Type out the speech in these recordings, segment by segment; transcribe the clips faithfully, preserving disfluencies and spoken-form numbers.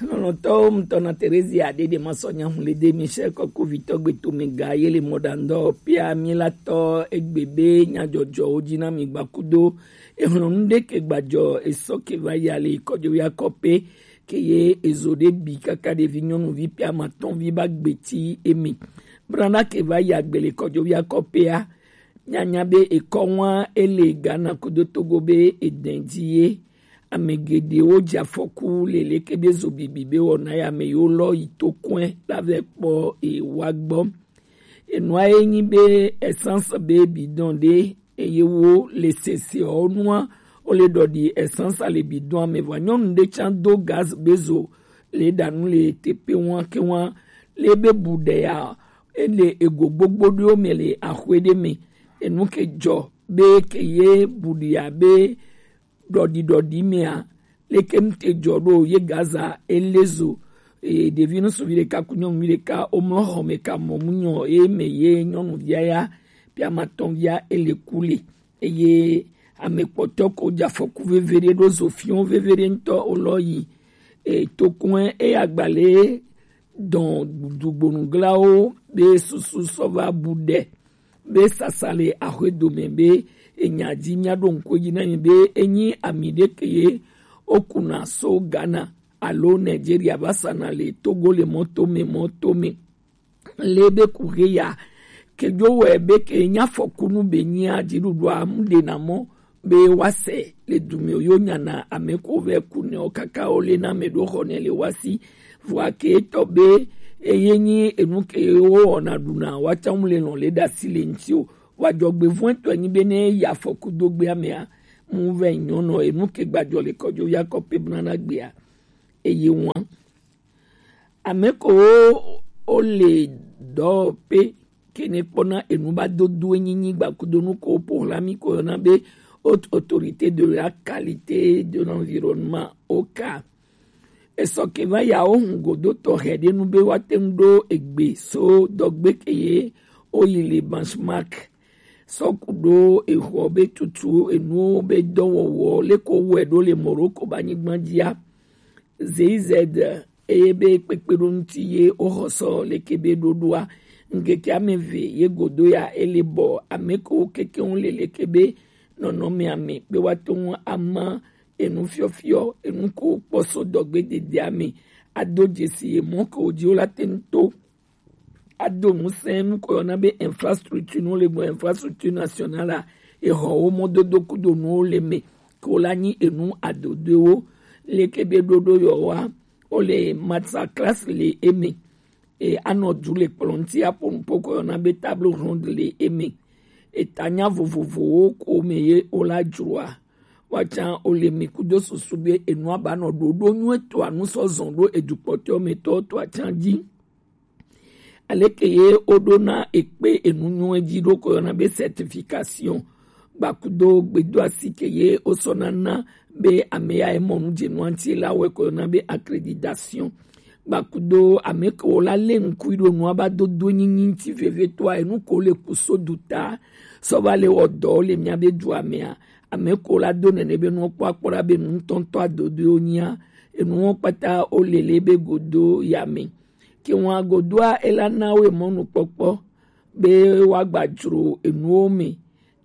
Lɔlɔ̃tɔwo ŋutɔ na Terezia ɖeɖe masɔ nyahun le de Michel kɔkuvitɔ gbetome ga ye le mɔɖaŋdɔ pia mi la tɔ egbe be nyadzɔdzɔwo dzi na mi gbakudo ehlɔnu ɖe ke gbadzɔ esɔ ke va ya le kɔdzoya kɔpe ke ye ezo ɖe bi kaka ɖevi nyɔnuvi pia matɔnvi ba gbeti emi. Brana ke va ya gbe le kɔdzoya kɔpea nyanya be ekɔ ŋua ele Ghana kudo Togo be edɛn dzi ye. Ame geɖewo dze afɔku le leke be zo bibi be wɔna ya me yewo lɔ yi to kɔe la vɛ kpɔ ewa gbɔ. Enua ye nyi be essence be bidon ɖe eye wo le seseɔ nua wo le ɖɔɖi essence le bidon me vɔ nyɔnu ɖe tsa do gaz be zo le ɖanu le tepe ŋua ke ŋua le be bu ɖe ya ele ego gbogbo ɖewo me le axwe ɖe me. Enu ke dzɔ be ke ye bu ɖi abe ɖɔɖi ɖɔɖi mea leke ŋute dzɔ ɖo ye Gaza ele zo. Eye ɖevi ŋutsuvi ɖeka ku nyɔnuvi ɖeka womlɔ xɔ me ka mɔ mu nyɔ ye me ye nyɔnuvia ya pia matɔnvia ele ku le eye ame kpɔtɔ ko dze afɔku veve ɖe ɖo zo fiɔ veve ɖe ŋutɔ wolɔ yi. E, tokun eya gbalẽ dɔn dugbonuglawo be susu sɔ va bu ɖe be sasa le axwe dome be enya dzi mia ɖo ŋku dzi na mi be enyi ami ɖe ke ye wokuna so Ghana alo Nigeria va sana le Togo le mɔto me mɔto me. Le be ku he ya ke dzo wɛ be ke nya fɔkunu be nyia dziɖuɖua mu ɖe na mɔ be woase le dume yo nyana ame ko vɛ ku ne o kaka o le na me ɖo xɔ ne le wasi. Vɔa ke etɔ be eye nyi enu ke wo wɔna ɖuna wa tsa ŋu le lɔn le ɖasi le ŋti o. Wa dzɔgbe vɔn etɔ nyi be ne ya fɔku do gbea mea mu vɛ nyɔnɔ enu ke gbadzɔ le kɔdzo ya kɔ pe bna na gbea eye wan. Ame ko wo le dɔ pe kene kpɔna enu ba dodo nyinyi gbakudonu ko po la mi ko yɔna be haute autorité de la qualité de l'environnement, oka. Esɔ ke va ya wo hun godo tɔxɛ ɖe nu be wa te ŋu ɖo egbe so dɔgbe ke ye wo yi le benchmark sɔ ku ɖo exɔ be tutu enuwo be dɔwɔwɔ le ko wɛ ɖo le Morocco ba nyigba dzia. Zeyizɛd eye be kpekpe ɖo ŋuti ye woxɔsɔ leke be ɖoɖoa ŋkeke ame ve ye godo ya ele bɔ ame ko keke ŋu le leke be nɔnɔmea me be woate ŋu ama enu fiɔfiɔ enu ko kpɔ so dɔgbe dedea me ado dzesi ye mɔ ko dzi wo la te ŋu to ado ŋusẽ nu ko yɔna be infrastructure nuwo le gbɔ infrastructure nationale a exɔwo mɔdodo kudo nuwo le me ko la nyi enu adodoewo leke be ɖoɖo yɔ wa wo le masterclass le eme e anɔ du le kplɔ ŋuti aƒo nuƒo ko yɔna be table ronde le eme. Etanya vovovowo ko me ye wo la dzroa woatsã wo le mi kudo susu be enua ba nɔ ɖoɖo nyuie toa nu sɔ zɔn ɖo edukpɔtɔ me tɔ toa tsã dzi. Aleke ye woɖona ekpe enu nyuie dzi ɖo ko yɔna be certification gbakudo gbedoasi ke ye wosɔ nana be ame ya emɔ nu dze nua ŋuti la wɔe ko yɔna be accréditation gbakudo ame ke wo la le ŋkui ɖo nua ba dodo nyinyi ŋuti veve toa enu ko le kuso du ta sɔ va le wɔ dɔ le mia be dua mea ame ko la do nene be nuwo kpɔ akpɔ ɖa be nu ŋutɔŋutɔ adodoe wonyia enuwo kpata wo le le be godo ya me. Ke ŋua godoa ela na wo emɔnukpɔkpɔ be woagba dzro enuwo me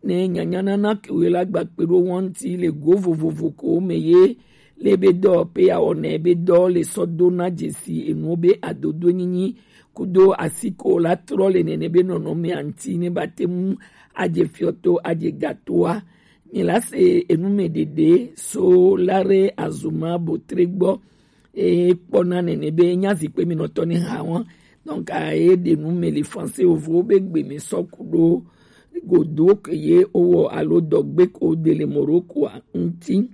ne nyanyanana ke wo la gba kpe ɖo wo ŋuti le go vovovo ko me ye le be dɔ pe ya wɔnɛ be dɔ le sɔ do na dzesi enuwo be adodo nyinyi kudo asi ko la trɔ le nene be nɔnɔmea ŋuti ne ba te ŋu adze fiɔto adze gatoa. Mi la se enu me ɖeɖe so la re azuma botre gbɔ e kpɔna nene be nya zikpe mi nɔtɔ ne ha wɔn. Donc a ye ɖe nu me le français ovo be gbe mi sɔ ku ɖo godo ke ye owɔ alo dɔgbe ko de le Morocco a ŋuti.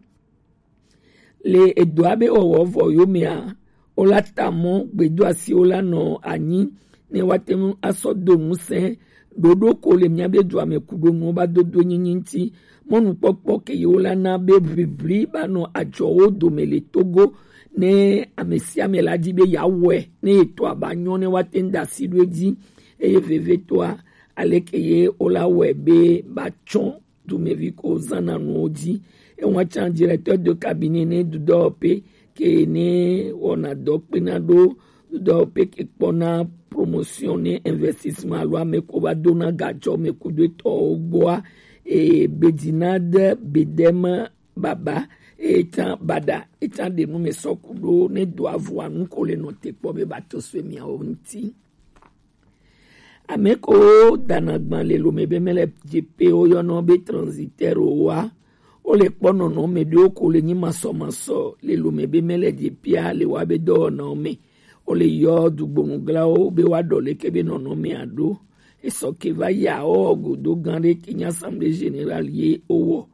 Le edoa be wɔwɔ vɔ yo mea wo la ta mɔ gbedoasiwo la nɔ anyi ne woate ŋu asɔ do ŋusẽ ɖoɖo ko le mía be dua me ku ɖo nuwo ba dodo nyinyi ŋuti. Mɔnukpɔkpɔ ke yewo la na be ʋiʋli ba nɔ adzɔwo dome le Togo ne ame sia ame la di be yeawɔe ne etɔa ba nyɔ ne woate ŋu da asi ɖo edzi eye vevetɔa aleke ye wo la wɔe be ba tsɔ dumevi ko zana nuwo dzi. Ewa tsã directeur de cabinet ne dudɔ pe ke ne wɔna dɔ kpena ɖo dɔ pe ke kpɔna promotion ne investissement alo ame ko va dona gajɔ me kudo etɔwo gbɔa, e bedina de bedeme baba, e tan bada, e tan ɖe nu me sɔ kudo ne do avua nu ko le nɔ te kpɔ be ba to so miawo ŋuti. Ame ko dana gban le lome be mele jepe wo yɔnɔ be transitaire wa. Wo le kpɔ nɔnɔme ɖewo ko le nyi masɔmasɔ le lome be mele jepea le wa be dɔwɔnawo me. Wo le yɔ dugbonuglawo be wa ɖɔ leke be nɔnɔmea ɖo. Esɔ ke va ya wo godo gan ɖe ke nyi Assemblée Générale ye wo wɔ.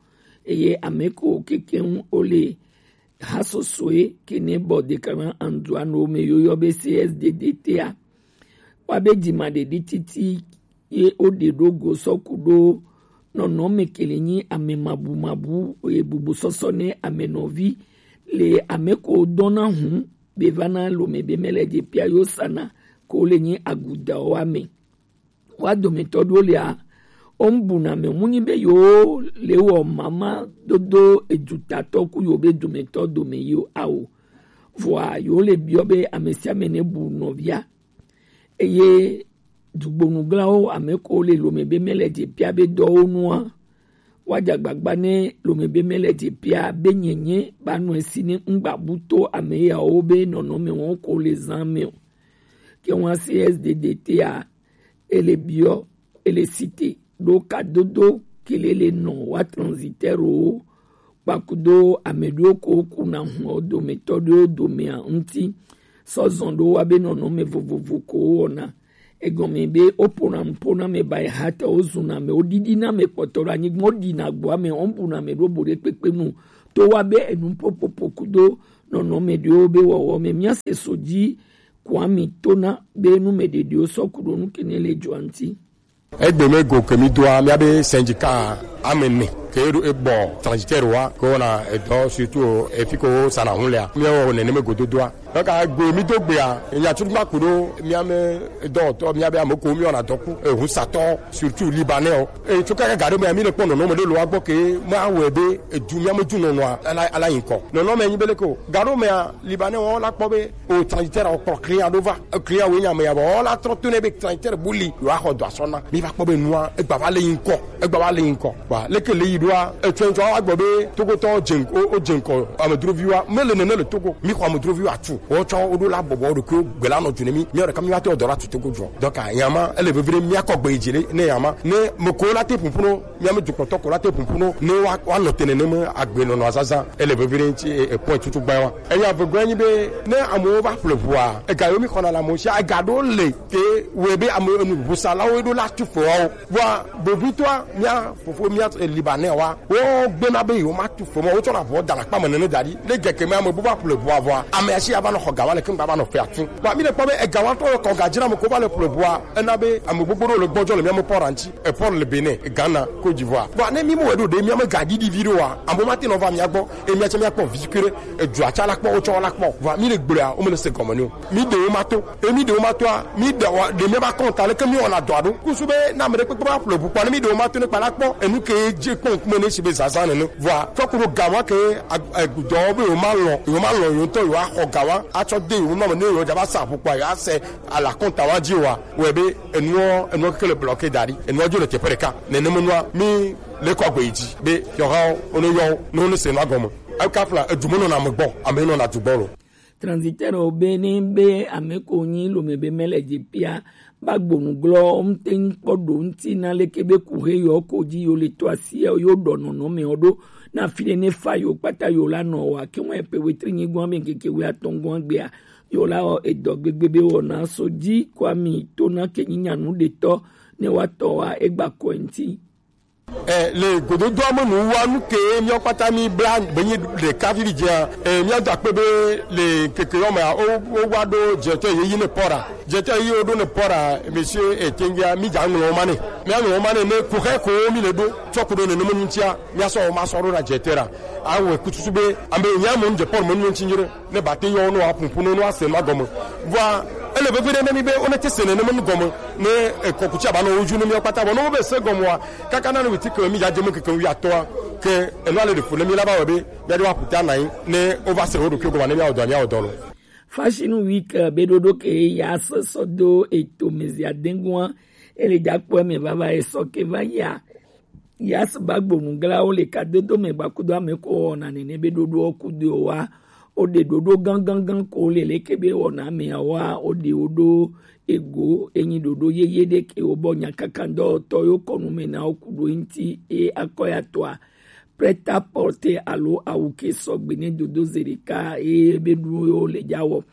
Eye ame ko kekeŋ wo le hasosoe ke ne bɔ dekana anduano me yo yɔ be C S D D T a. Wa be dima ɖeɖi titi ye wo ɖe ɖo go sɔ kudo nɔnɔme ke le nyi ame mabu mabu ye bubu sɔsɔ ne ame nɔvi le ame ko dɔna hu be va na lome be mele jepea yo sana ko le nyi agudawo ame. Wa dometɔ ɖewo lia, wo ŋbuna me mu nyi be yewo le wɔ mama dodo edutatɔ ku yewo be dometɔ dome yi o ao. Vɔa yewo le biɔ be ame sia ame ne bu nɔvia. Eye dugbonuglawo ame ko le lome be mele jepea be dɔwo nua, wa dza gbagba ne lome be mele jepea be nyenye ba nɔ esi ne ŋgba bu to ame yawo be nɔnɔme wɔn ko le zan me o. Ke ŋua C S D D T a, ele biɔ, ele site ɖo kadodo ke le le nɔ wa transitaire wo kpakudo ame ɖewo ko kuna hun o dometɔ ɖewo domea ŋuti. Sɔ zɔn ɖo wa be nɔnɔme vovovo ko wɔna. Egɔme be wo pona ŋpo na me ba eha te wo zuna me wo ɖiɖi na me kpɔtɔ ɖo anyigba wo ɖi na gbo ame wo bu na me ɖo bo ɖe kpekpe nu. To wa be enu popopo kudo nɔnɔme ɖewo be wɔwɔ me mia se so dzi Kwami tona be nu me ɖeɖewo sɔ ku ɖo nu ke ne le joa ŋuti. Egbe me go ke mi doa mia be syndicat ame ne ke ɖo ebɔ transitaire wa ko na edɔ surtout efi ko sana hun lea. Mi wo nene me go dodoa. Donc a go mi do gbea nya tu ma ku ɖo mia me dɔ tɔ mia be ame ko mi ona dɔ ku ehun satɔ surtout libanais o. E tso kaka ga ɖe mea mi le kpɔ nɔnɔme ɖe lo wa gbɔ ke ma wɔ be edu mia me du nɔnɔa ala ala yin kɔ. Nɔnɔme nyi be le ko ga ɖo mea libanais wo la kpɔ be o transitaire o kplɔ client ɖo va. Client wo nya me ya bɔ o la trɔ to ne be transitaire bu li yo axɔ dɔ asɔ na. Mi va kpɔ be nua egba va le yin kɔ. Egba va le yin kɔ. Wa leke le yi ɖoa etsɔ etsɔ wa gbɔ be Togo tɔ dze ŋkɔ o dze ŋkɔ amedroviwa me le nene le Togo. Mi xɔ amedroviwa tu. Wo tsɔ wo ɖo la bɔbɔ ɖo ko gbe la nɔ dzu ne mi. Mi ɖeka mi va te dɔ la tu Togo dzɔ. Donc a yama ele vevre mi akɔ gbe dzi ne yama ne me ko la te pumpunu mi ame dukɔtɔ ko la te pumpunu ne wa wa nɔ te nene me agbe nɔnɔ azaza ele vevre ŋuti e point tutu gba wa. Eya vegɔe nyi be ne amewo va ƒle ʋua ega yo mi xɔna le amewo si ega ɖo le ke wɔe be ame enu ʋusalawo ɖo la tu ƒe wawo. Vɔa bovitɔa mia fofo mia libanais wa wo gbena be yewo ma tu ƒe mɔ wo tsɔ na ʋua da le akpa me nene da ɖi ne geke me ame bu va ƒle ʋua vɔa ame asi ava nɔ xɔ ga wa le keŋgba va nɔ ƒe atu. Vɔa mi le kpɔ be ega wa tɔ kɔ ga dzra me ko va le ƒle ʋua ena be ame gbogbo ɖewo le gbɔdzɔ le mia me pɔra ŋuti. Epɔr le Benin, Ghana, Côte d'Ivoire. Vɔa ne mi mo eɖo ɖe mia me ga ɖiɖi vi ɖo wa ame ma te nɔ va mia gbɔ e mia tsɛ mia kpɔ vi kere. Edua tsa la kpɔ wotsɔ la kpɔ vɔa mi le gblɔa wo me le se gɔme ne o. Mi ɖewo ma to emi ɖewo ma toa mi ɖe wa ɖe mi ba kɔn ta leke mi wɔna dɔa ɖo kusu be na ame ɖe kpekpe ba ƒle ʋu kpɔ ne mi ɖewo ma to ne kpa la kpɔ enu ke dze kpɔ ŋkume ne si be zazã nene vɔa fɔku ɖo ga wa ke dɔwɔ be yewo ma lɔ yewo ma lɔ yewo ŋutɔ yewo axɔ ga wa atsɔ de yewo nɔ me ne yewo dza va sa ʋu kpɔ yewo asɛ ala kɔn ta wa dzi wa wɔe be enuɔ enuɔ keke le blɔ ke da ɖi enuɔ dzo le teƒe ɖeka nene me nua mi le kɔ agbe yi dzi be yɔhawo wo ne yɔ wo ne wo ne se nua gɔme. Eka fla edu me nɔna ame gbɔ ame nɔna du gbɔ lo. Transitaire wo be ne be ame ko nyi lome be mele dze pia ba gbonu glɔ ŋte ŋkpɔ ɖo ŋti na leke be ku he yɔ ko dzi yo le to asi yo ɖɔ nɔnɔ me wo ɖo na fi ne ne fa yo kpata yo la nɔ wa ke ŋu epe wetri nyi gɔn be ŋkeke we atɔn gɔn gbea yo la wɔ edɔ gbegbe be wɔ na so dzi kwa mi to na ke nyi nyanu ɖetɔ ne wa tɔ wa egba kɔe ŋti. Eh, le gododoa me nu wa nu ke míawo kpata mi bla be nyi ɖeka vivi dzea eh, míado akpe be le keke yɔ mea wo wo wa ɖo dzetɔ yeyi ne pɔra dzetɔ yeyi wo ɖo ne pɔra monsieur eh, tengia mi dza ŋlɔ wo ma ne mía ŋlɔ wo ma ne ne kuxɛ ko mi le ɖo tsɔ ku ɖo ne ne me nu tia mía sɔ wo ma sɔ ɖo na dzetɔ ra awo kututu be ame nya mo dze pɔr mo nu ŋuti nyire ne ba te yɔ no wa pumpu no no ase ma gɔme vɔa Ele vevie ɖe ne mi be wonete se nenema nu gɔme ne ekɔkuti aba nɔ wo dzi ne míawo kpata, vɔ ne wobe se gɔmea, kaka na ne witi ke mi dzadze me keke ŋu atɔa, ke enu ale ɖe fu ne mi la va wɔ be míaɖo aƒuta na yi ne wova se wo ɖokui gɔme ne míawɔ dɔ míawɔ dɔ lo. Fashion Week be ɖoɖo ke ya sɔsɔ do eto me zia dengua ele dza kpɔ me vava esɔ ke va ya. Yas Bagbo nuglawo le kadodo me gbakudo ame ko wɔna nene be ɖoɖoɔ kudoe wa. Wo ɖe ɖoɖo gangangan ko le leke be wɔna amea wa, wo ɖe wo ɖo ego enyi ɖoɖo yeye ɖe ke wo bɔ nyakakandɔtɔ yo kɔnu me na wo kudo ŋti e akɔ ya tɔa. Preta porte alo awu ke sɔgbe ne dodo ze ɖeka e be ɖu yo le dza wɔ.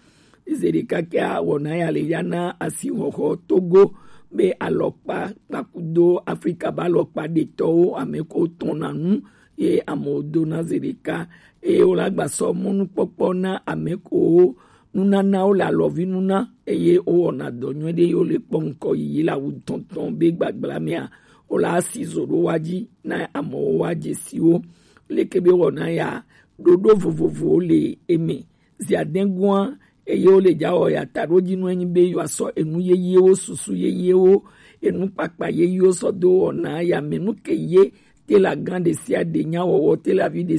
Zeɖeka kea wɔna ya le ya na asixɔxɔ Togo be alɔkpa kpakudo Afrika be alɔkpa ɖetɔwo ame ko tɔna nu ye amewo do na zeɖeka eye wole agba sɔ mɔnukpɔkpɔ na ame ko nunanawo le alɔvi nuna eye wowɔna dɔ nyuie ɖe ye wole kpɔ ŋkɔ yiyi le awu tɔntɔn be gbagbla mea wole asi zo ɖo wa dzi na amewo wa dze si wo leke be wɔna ya ɖoɖo vovovowo le eme. Ziadegua eye wo le dza wɔ ya taɖo dzi nu enyi be yewoasɔ enu yeyewo, susu yeyewo, enu kpakpa yeyewo sɔ do wɔna ya me nu ke ye te la gan ɖe sia ɖe nya wɔwɔ te la vi ɖe